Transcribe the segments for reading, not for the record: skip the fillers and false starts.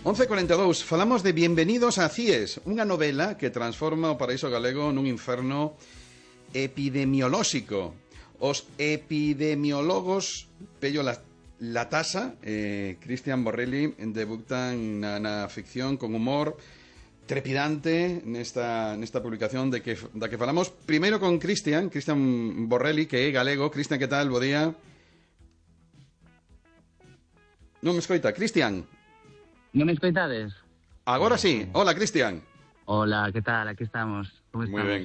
11:42, falamos de Bienvenidos a Cies, unha novela que transforma o paraíso galego nun inferno epidemiolóxico. Os epidemiólogos Pello Latasa e Cristian Borrelli debutan na ficción con humor trepidante nesta publicación da que falamos. Primeiro con Cristian Borrelli, que é galego. Cristian, que tal? Bo día. Non me escoita, Cristian. ¿No me escoitades? Agora sí. Hola, Cristian. Hola, ¿qué tal? Aquí estamos. ¿Cómo estamos? Moi ben.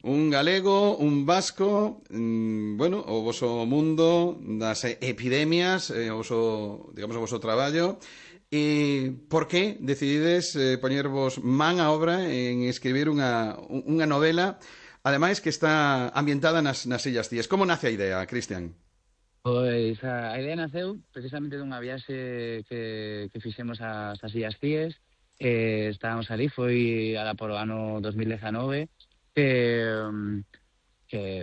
Un galego, un vasco, bueno, o voso mundo das epidemias, o voso traballo. E por que decidides poñervos man a obra en escribir unha novela, ademais que está ambientada nas Illas Cíes? Como nace a idea, Cristian? Pois a idea naceu precisamente dunha viaxe que fixemos ás Illas Cíes. Estábamos ali, foi ala por o ano 2019, que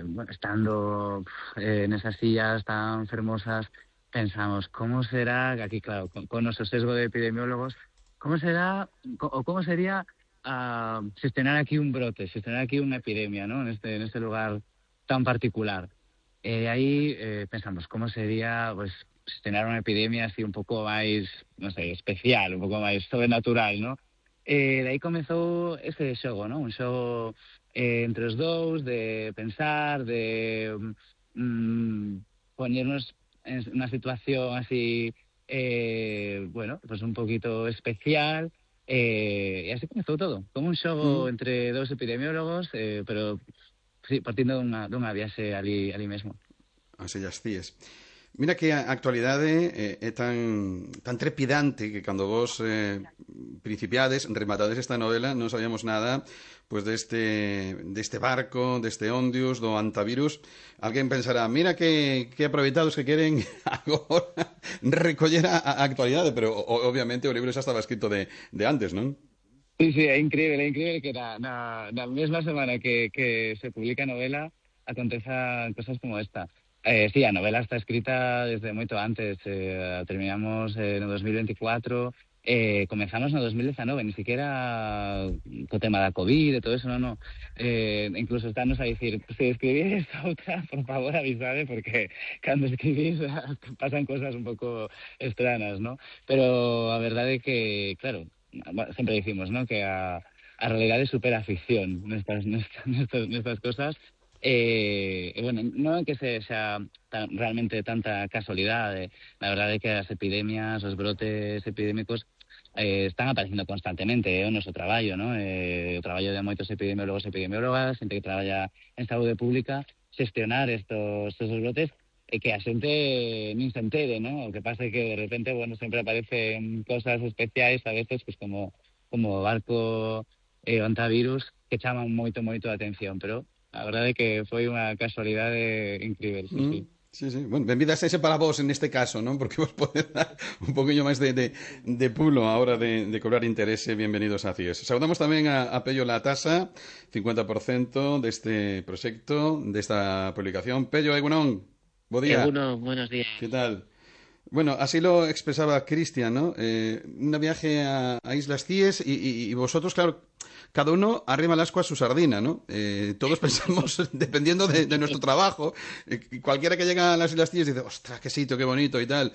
bueno, estando nesas illas tan fermosas, pensamos, como será, aquí claro, con noso sesgo de epidemiólogos, como será, ou como sería xestionar aquí un brote, xestionar aquí unha epidemia, ¿no? Neste lugar tan particular. Aí pensamos, como sería pues, xestionar unha epidemia así un pouco máis, non sei, especial, un pouco máis sobrenatural, ¿no? De aí comezou ese xogo, ¿no? Un xogo entre os dous, de pensar, de poñernos en unha situación así, bueno, pues un poquito especial, e así comezou todo, como un xogo entre dous epidemiólogos, pero sí, partindo dunha viaxe ali mesmo. As Illas Cíes. Mira que a actualidade é tan trepidante que cando vos principiades, rematades esta novela, non sabíamos nada pues deste barco, deste Ondius, do antivirus. Alguén pensará, mira que aproveitados que queren agora recoller a actualidade, pero obviamente o libro xa estaba escrito de antes, non? Sí, é increíble que na mesma semana que se publica a novela acontezan cosas como esta. Sí, a novela está escrita desde moito antes. Terminamos no 2024, comenzamos no 2019, ni siquiera co tema da COVID e todo eso, no. Incluso estános a dicir, se escribís outra, por favor avisade, porque cando escribís pasan cosas un pouco extrañas, ¿no? Pero a verdade é que, claro, sempre dicimos, ¿no?, que a realidade supera a ficción nestas cosas. Bueno, non é que sexa realmente tanta casualidade. La verdade é que as epidemias, os brotes epidémicos están aparecendo constantemente, o noso traballo, ¿no? O traballo de moitos epidemiólogos e epidemiólogas, xente que traballa en saúde pública, xestionar estos brotes e que a xente nin se entere, ¿no? O que pasa é que de repente, bueno, sempre aparecen cosas especiais a veces, pues como o barco o antivirus, que chaman moito a atención, pero a verdade é que foi unha casualidade incrível, sí. Sí. Bueno, benvidas ese para vos neste caso, non? Porque vos pode dar un poquinho máis de pulo a hora de cobrar interese. Bienvenidos a Cies. Saudamos tamén a Pello Latasa, 50% deste proxecto, desta publicación. Pello, egunon, bo día. Egunon, buenos días. Que tal? Bueno, así lo expresaba Cristian, ¿no? Una viaje a Islas Cíes y vosotros, claro, cada uno arrima el ascua a su sardina, ¿no? Todos pensamos, dependiendo de nuestro trabajo, cualquiera que llega a las Islas Cíes dice, ostras, qué sitio, qué bonito y tal.